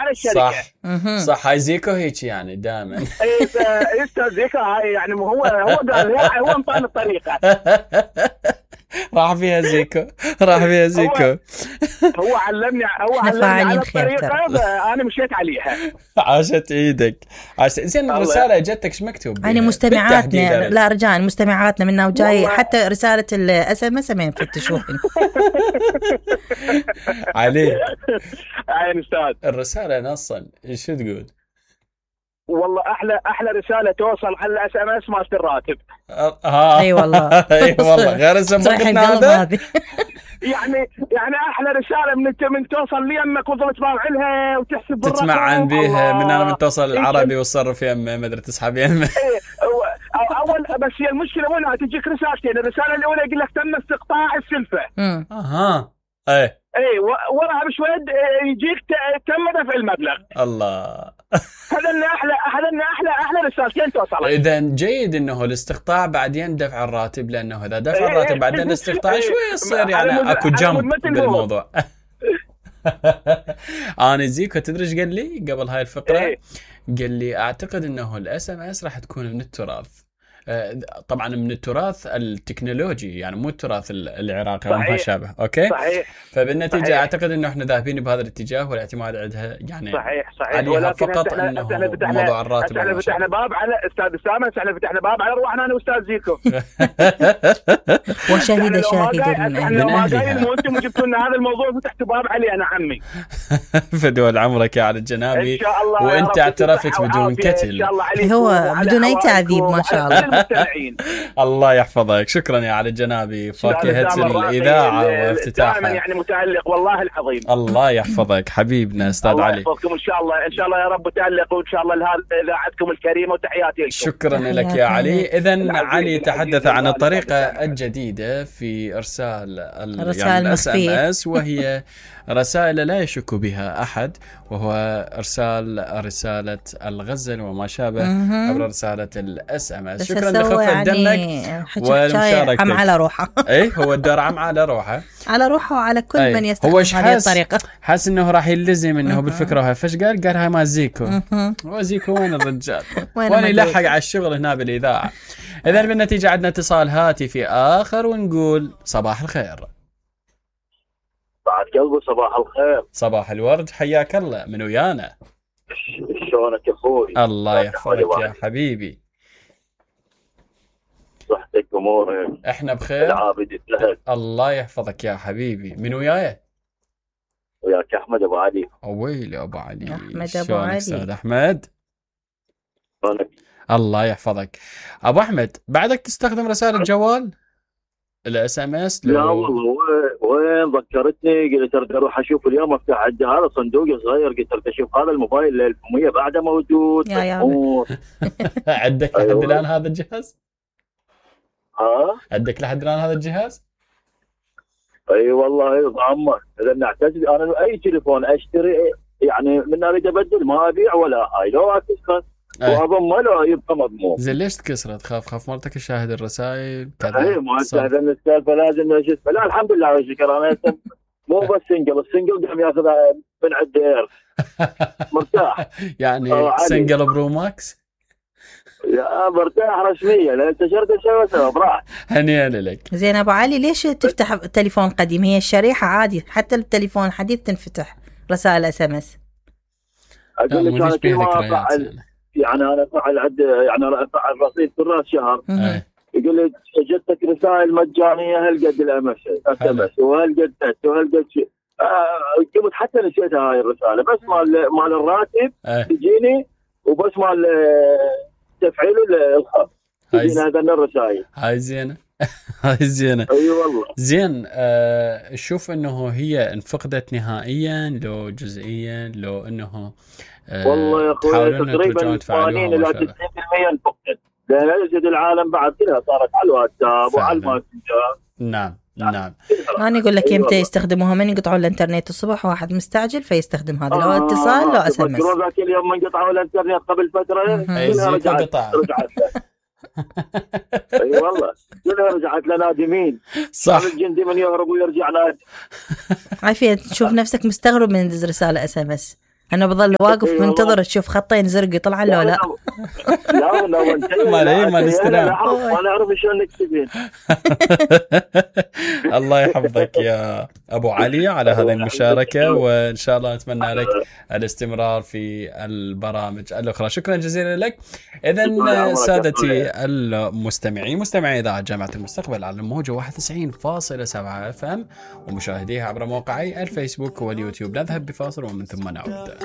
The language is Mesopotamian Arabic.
على الشركه. صح هاي زيكو هيك يعني دائما. استاذ زيكو هاي يعني هو قال هو انطاني الطريقه. راح فيها زيكو. هو علمني على الطريقه، انا مشيت عليها. عاشت ايدك. زين الرساله جتك ايش مكتوب؟ يعني مستمعاتنا، لا رجاء مستمعاتنا منا وجاي حتى رساله الاس ام اس ما يفتشوها. علي عين استاذ الرساله نصا شو تقول؟ والله احلى رساله توصل على الاس ام اس مالت الراتب. اي والله غير اسمك هذا. يعني احلى رساله من توصل لي امك وظلت تبارع لها وتحسب تتمعن بيها من انا من توصل العربي والصرف يمه ما ادري تسحب يمه. اول بس هي المشكله وين تجيك رسالتين. الرساله الاولى يقول لك تم استقطاع السلفه. اي وراها بشوي يجيك تم دفع المبلغ. الله هذا احلى رسالتين توصل. اذا جيد انه الاستقطاع بعدين دفع الراتب، لانه اذا دفع الراتب بعدين الاستقطاع شوي يصير يعني اكو جنب بالموضوع. انا زيكو تدري ايش قال لي قبل هاي الفقره؟ قال لي اعتقد انه الاس ام اس راح تكون من التراث، طبعا من التراث التكنولوجي يعني مو التراث العراقي وما شابه. اوكي صحيح. فبالنتيجه صحيح. اعتقد انه احنا ذاهبين بهذا الاتجاه والاعتماد عندها يعني صحيح عليها فقط انه موضوع الراتب. احنا فتحنا باب على استاذ اسامه، احنا فتحنا باب على روحنا انا واستاذ زيكو. وشاهد من اهلها. وانتم جبتوا لنا هذا الموضوع فتحتوا باب علي انا عمي. فدول عمرك يا علي الجنابي. ان شاء الله وانت اعترفت بدون كتل. هو بدون اي تعذيب ما شاء الله. الله يحفظك. شكرا يا علي الجنابي، فاكهة الإذاعة وافتتاحها يعني متألق والله العظيم. الله يحفظك حبيبنا أستاذ علي. الله يحفظكم إن شاء الله يا رب تألق وإن شاء الله إذاعتكم الكريمة وتحياتي لكم. شكرا لك يا علي. إذن علي تحدث عن الطريقة الجديدة في إرسال يعني SMS، وهي رسائل لا يشك بها أحد، وهو إرسال رسالة الغزل وما شابه عبر رسالة SMS. شكرا لخفة دمك والمشاركة. عم على روحه. إيه هو الدار عم على روحه وعلى كل من يستخدم هذه الطريقة. حاس إنه راح يلزم إنه بالفكرة وهي فش قال هاي ما زيكو. هو زيكو وين الرجال؟ وين يلحق على الشغل هنا بالإذاعة. إذن بالنتيجة عندنا اتصال هاتفي آخر ونقول صباح الخير. بعد قلبه صباح الخير. صباح الورد، حياك الله. من ويانا؟ شلونك يا اخوي؟ الله يحفظك يا حبيبي. صحتك امورك؟ احنا بخير العابد لهك. الله يحفظك يا حبيبي. من وياي؟ وياك احمد ابو علي. ويلي ابو علي. احمد ابو علي. استاذ احمد شلونك؟ الله يحفظك ابو احمد. بعدك تستخدم رسالة جوال الاس ام اس؟ لا والله وين ذكرتني، قلت ارجع اروح اشوف اليوم افتح هذا صندوق صغير، قلت اشوف هذا الموبايل 1100 بعده موجود. عندك لحد الان هذا الجهاز؟ عندك لحد الان هذا الجهاز؟ اي والله عمر اذا نعتز انا اي تليفون اشتري يعني من اريد ابدل ما ابيع ولا هاي لو اكسر واظن لا يبقى مضمون. زين ليش تكسره؟ خاف مرتك تشاهد الرسائل كذا؟ اي ما هذا السالفه لازم اشوف. لا الحمد لله والشكر انا مو بس السنجل قام ياخذ من عند اير مرتاح يعني سنجل برو ماكس. يا مرتاح رسميا لان انتشرت شوي براح. هنيئا لك. زين ابو علي ليش تفتح تليفون قديم؟ هي الشريحه عادي حتى التليفون الحديث تنفتح رسائل اس ام اس. اقول لك انا كل ما افعل يعني انا افعل عد يعني افعل رصيد كل راس شهر يقول لي جتك رسائل مجانيه هالقد الامس وهالقد وهالقد شيء. قمت حتى نسيتها هاي الرساله بس مال الراتب تجيني وبس مال تفعيل الخط تجيني هذا الرسائل. هاي زينه. هاي زينه. اي والله زين. شوف انه هي انفقدت نهائيا لو جزئيا لو انه والله يا اخوي تقريبا 80 الى 90% انفقدت لان يجد العالم بعد كلها صارت على الواتساب وعلى الماسنجر. نعم. انا اقول لك يمتى يستخدموها من يقطعوا الانترنت الصبح واحد مستعجل فيستخدم هذا لو اتصال لو اس ام اس. ذاك اليوم من قطعوا الانترنت قبل فتره كلها رجعت اي والله كلها رجعت لنادمين. صح. الجندي من يهرب ويرجع نادم. عافية تشوف نفسك مستغرب من رسالة اس ام اس. انا بظل واقف منتظر اشوف خطين زرق يطلع له لا. ما الاستلام. ما نعرف شلون نكتبين. الله يحفظك يا ابو علي على هذه المشاركه، وان شاء الله نتمنى لك الاستمرار في البرامج الاخرى. شكرا جزيلا لك. اذا سادتي المستمعين، مستمعي اذاعه جامعه المستقبل على الموجه 91.7 FM ومشاهديها عبر موقعي الفيسبوك واليوتيوب. نذهب بفاصل ومن ثم نعود.